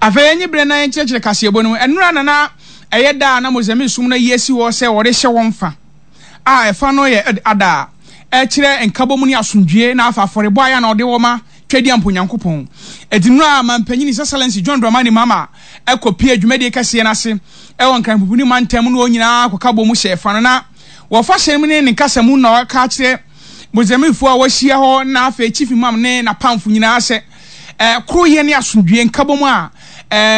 Afei enye bere na yɛnkyerɛkyerɛ kaseɛbɔ no mu. Ɛnora na na ɛyɛ da a na Mozambique som no ayi asi hɔ sɛ wɔde hyɛ wɔn fa a ɛfa no yɛ Eid Adha a ɛkyerɛ nkabom ne asomdwoe na afa afɔrebɔ a ɛyɛ a na wɔde wɔ ma Tweaduampo Nyankopɔn. Enti nnora a Mampanyin His Excellency John Dramani Mahama kɔpue dwumadie kɛseɛ no ase wɔ Nkran Pupuni mantam mu ne wɔn nyinaa kɔka bɔ mu hyɛɛ fa no na wɔfa hyɛn mu ne ne kasa mu na ɔka akyerɛ Mozambiquefoɔ a wɔahyia hɔ na afei Chief Imam ne n'apamfo nyinaa sɛ koroyɛ ne asomdwoeɛ nkabom a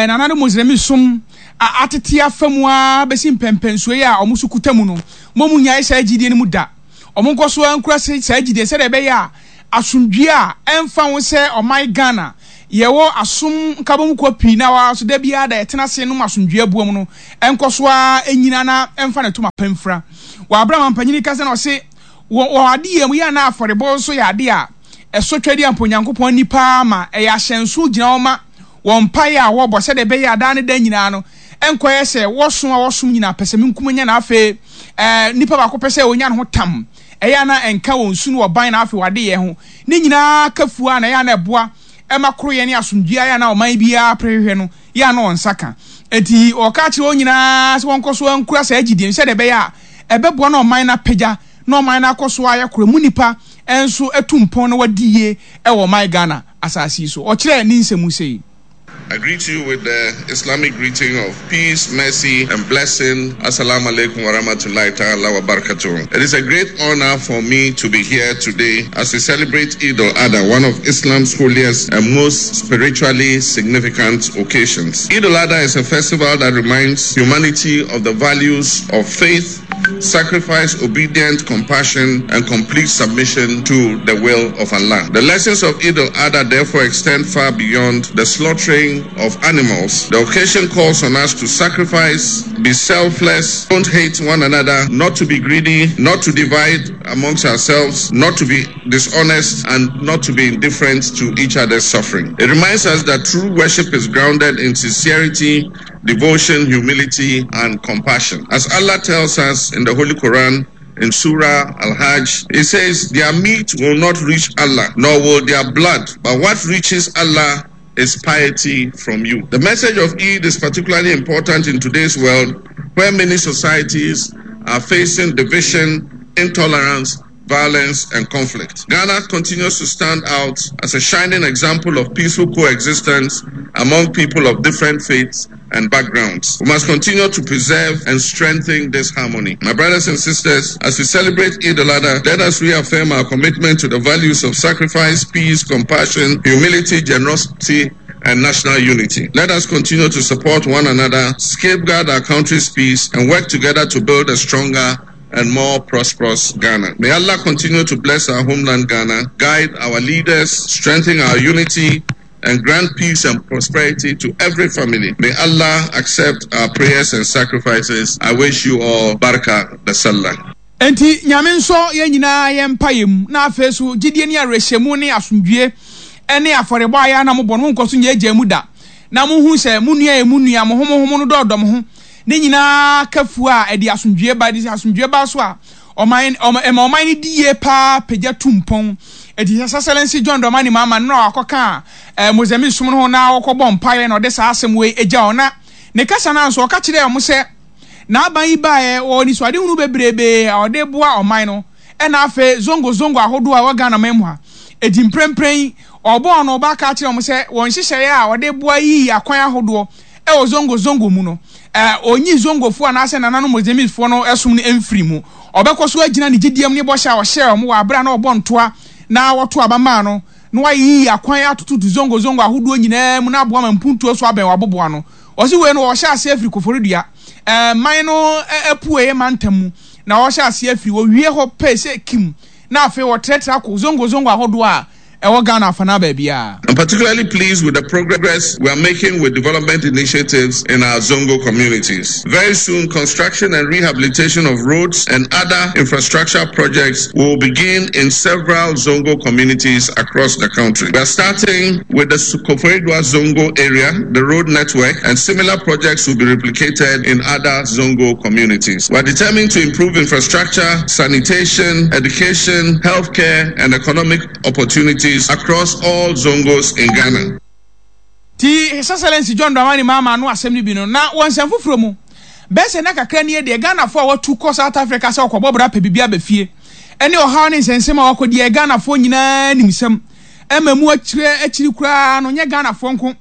nananom Mozambique som atete afa mu ara bɛsi mpɛnpɛnsoɔ yi a wɔn nso kuta mu no, mo mu nnyae saa gyidie no mu da. Wɔn nkɔ so ara nkura saa gyidie sɛdeɛ ɛbɛyɛ a asomdwoeɛ a ɛmfa ho sɛ ɔman Ghana yɛwɔ asom nkabom kuo pii na wɔn so da biara da yɛtena ase nom asomdwoeɛ aboa mu no nkɔ so ara nyina na ɛmfa ne toma pa mfira. Wɔ abere a mampanyini kasa na ɔse wɔ wɔn adeyɛ mu yɛ a na afɔrebɔ nso yɛ adeɛ a ɛsɔ twɛdeɛ a mpo Onyankopɔn ani paa ma ɛyɛ ahyɛnso gyina hɔ ma wɔn mpaeɛ a wɔbɔ sɛdeɛ ɛbɛyɛ a daa ne daa nyinaa no ɛnkɔyɛ sɛ wɔsom a wɔsom nyinaa pɛsɛmenkominya na afei ɛɛ nipa baako pɛ sɛ ɔnya ne ho tam ɛyɛ a na ɛnka wɔn su ne wɔn ban na afei wɔn adeyɛ ho ne nyinaa ka fua na ɛyɛ a na ɛboa ɛma koroyɛ ne asomdwoeɛ ayɛ a na ɔman biara prehwehwɛ no yɛ a na wɔn nsa ka. Enti wɔka kyerɛ wɔn nyinaa sɛ wɔnkɔ so nkura saa gyidie no sɛdeɛ ɛbɛyɛ a ɛbɛboa na ɔman no apagya na ɔman no akɔ so ayɛ koro mu nnipa nso atu mpɔn na wɔadi yie wɔ ɔman Ghana asase yi so. Ɔkyerɛɛ ne nsɛm mu sei. I greet you with the Islamic greeting of peace, mercy, and blessing. Assalamu alaikum wa rahmatullahi ta'ala wa barakatuh. It is a great honor for me to be here today as we celebrate Eid al-Adha, one of Islam's holiest and most spiritually significant occasions. Eid al-Adha is a festival that reminds humanity of the values of faith, sacrifice, obedience, compassion, and complete submission to the will of Allah. The lessons of Eid al-Adha therefore extend far beyond the slaughtering of animals. The occasion calls on us to sacrifice, be selfless, don't hate one another, not to be greedy, not to divide amongst ourselves, not to be dishonest, and not to be indifferent to each other's suffering. It reminds us that true worship is grounded in sincerity, devotion, humility, and compassion. As Allah tells us in the Holy Quran, in Surah Al Hajj, it says, Their meat will not reach Allah, nor will their blood, but what reaches Allah is piety from you. The message of Eid is particularly important in today's world where many societies are facing division, intolerance, violence, and conflict. Ghana continues to stand out as a shining example of peaceful coexistence among people of different faiths and backgrounds. We must continue to preserve and strengthen this harmony. My brothers and sisters, as we celebrate Eid al-Adha, let us reaffirm our commitment to the values of sacrifice, peace, compassion, humility, generosity, and national unity. Let us continue to support one another, safeguard our country's peace, and work together to build a stronger and more prosperous Ghana. May Allah continue to bless our homeland Ghana, guide our leaders, strengthen our unity, and grant peace and prosperity to every family. May Allah accept our prayers and sacrifices. I wish you all Barka da Sallah. Enti Nyame nsɔ yɛn nyinaa yɛn mpaeɛ mu, na afei so gyidie ne awerɛhyɛmu ne asomdwie ne afɔrebɔ a ɛyɛ a na mobɔ no monkɔ so nyɛ mu da, na monhunu sɛ mo nua yɛ mo nua, mo ho mo ho mo no dɔɔdɔ mo ho, Ne nyinaa ka fua a ɛde asomdwoeɛ ba. Ɛde asomdwoeɛ ba nso a, ɔman, ɔma, ɛma ɔman no di yie paa, pagya tu mpɔn. Enti His Excellency John Dramani Mahama no na wakɔka eh, Mozambique som no ho na wɔkɔbɔ mpaeɛ na ɔde saa asɛm wei agya wɔn. Na ne kasa no ara nso, ɔka kyerɛɛ wɔn sɛ n'aban yi baeɛ, wɔ anisoadehunu bebrebee a ɔde boa ɔman no, ɛna afei zongo zongo ahodoɔ a ɛwɔ Ghana man mu ha. Enti mprempren yi, ɔbɔɔ no ba ka kyerɛɛ wɔn sɛ wɔn nhyehyɛeɛ a ɔde boa yiyi akwan ahodoɔ wɔ Zongo Zongo mu no, ɔnyi Zongofoɔ anaasɛ nananom Mozambiquefoɔ no som no mfiri mu. Ɔbɛkɔ so agyina ne gyidie mu ne bɔhyɛ a ɔhyɛɛ wɔn wɔ aberɛ a na ɔbɔ ntoa na wɔto aba maa no, na wayiyi akwan atototo Zongo Zongo ahodoɔ nyinaa mu na aboa ma mpuntuo so abɛn wɔ aboboano. Ɔse wei no wɔhyɛ aseɛ afiri Koforidua, man no apueɛ mantam mu na wɔhyɛ aseɛ afiri, wɔwie hɔ pɛ sɛ kim na afei wɔtrɛtrɛ akɔ Zongo Zongo ahodoɔ a ɛwɔ Ghana afanaa baabiara. I'm particularly pleased with the progress we are making with development initiatives in our Zongo communities. Very soon, construction and rehabilitation of roads and other infrastructure projects will begin in several Zongo communities across the country. We are starting with the Koforidua Zongo area, the road network, and similar projects will be replicated in other Zongo communities. We are determined to improve infrastructure, sanitation, education, healthcare, and economic opportunities across all Zongos in Ghana. Nti His Excellency John Dramani Mahama ano asɛm no bi no, na wɔ nsɛm foforɔ mu, bɛyɛ sɛ nna kakra nie deɛ Ghanafoɔ a wɔatu kɔ South Africa sɛ wɔkɔbɔ bra pɛ biribi aba fie ne ɔhaw ne nsɛnsɛm a wɔakɔdi a Ghanafoɔ nyinaa nim sɛm ɛma mu akyire akyiri koraa no nyɛ Ghanafoɔ nko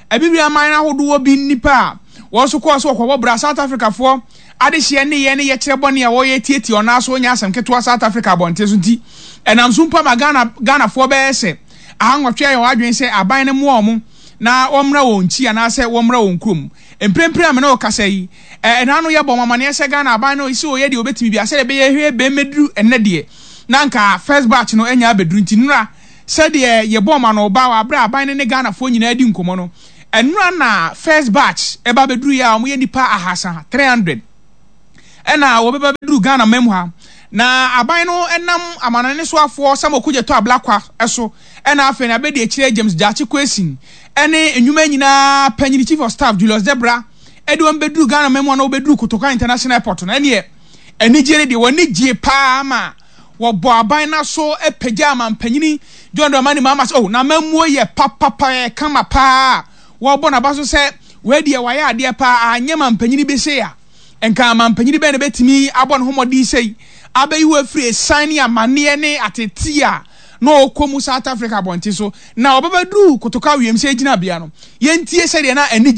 Abibire aman ahodoɔ bi nnipa a wɔn nso kɔɔ sɛ wɔkɔbɔ bra South Africafoɔ adehyeɛ nneyɛɛ ne yɛkyerɛ bɔne a wɔyɛ tiatia ɔnaa so nyɛ asɛm ketewa South Africa abɔnten so nti ɛnam so mpo ama Ghana Ghanafoɔ bɛyɛ sɛ ahanwɔtwe ayɛ wɔn adwene sɛ aban no mmoa wɔn na wɔmmra wɔn nkyi anaasɛ wɔmmra wɔn kurom. Mprempren a me ne wo kasa yi, ɛna ano yɛbɔ wɔn amaneɛ sɛ Ghana aban no sɛ ɔyɛ deɛ ɔbɛtumi biara sɛdeɛ ɛbɛyɛ hwɛ bɛmmɛduru ɛnnɛ deɛ na anka first batch no anya abɛduru nti nnora sɛdeɛ yɛbɔ wɔn ano ba wɔ aberɛ a aban no ne Ghanafoɔ nyinaa di nkɔmmɔ no ɛnora na first batch ɛba bɛduruiɛ a wɔyɛ nnipa ahasa, 300, ɛna wɔbɛba bɛduru Ghana man mu ha na aban no nam amanɔne soafoɔ Samuel Okudzeto Ablakwa so ɛna afei na abɛdi akyire James Gyakye Quayson ɛne nnwuma nyinaa panyini Chief of Staff Julius Debra ɛde wɔn bɛduru Ghana man mu a na wɔbɛduru Kotoka International Airport no ɛneɛ anigyeɛ no deɛ wɔn ani gyee paa ma wɔbɔ aban no aso pagya amampanyini John Dramani Mahama sɛ oh n'amammuo yɛ papapa ɛyɛ kama paa wɔbɔ n'aba so sɛ wei deɛ wayɛ adeɛ paa anyɛ mampanyini bi sei a nka amampanyini bɛn na bɛtumi abɔ ne ho mmɔden sei abɛyi wo afiri esiane ne amanneɛ ne atetee a na ɔkɔ mu South Africa abɔnten so na ɔbɛbɛduru Kotoka wiemhyɛn gyinabea no. Yɛntie sɛdeɛ na anigye.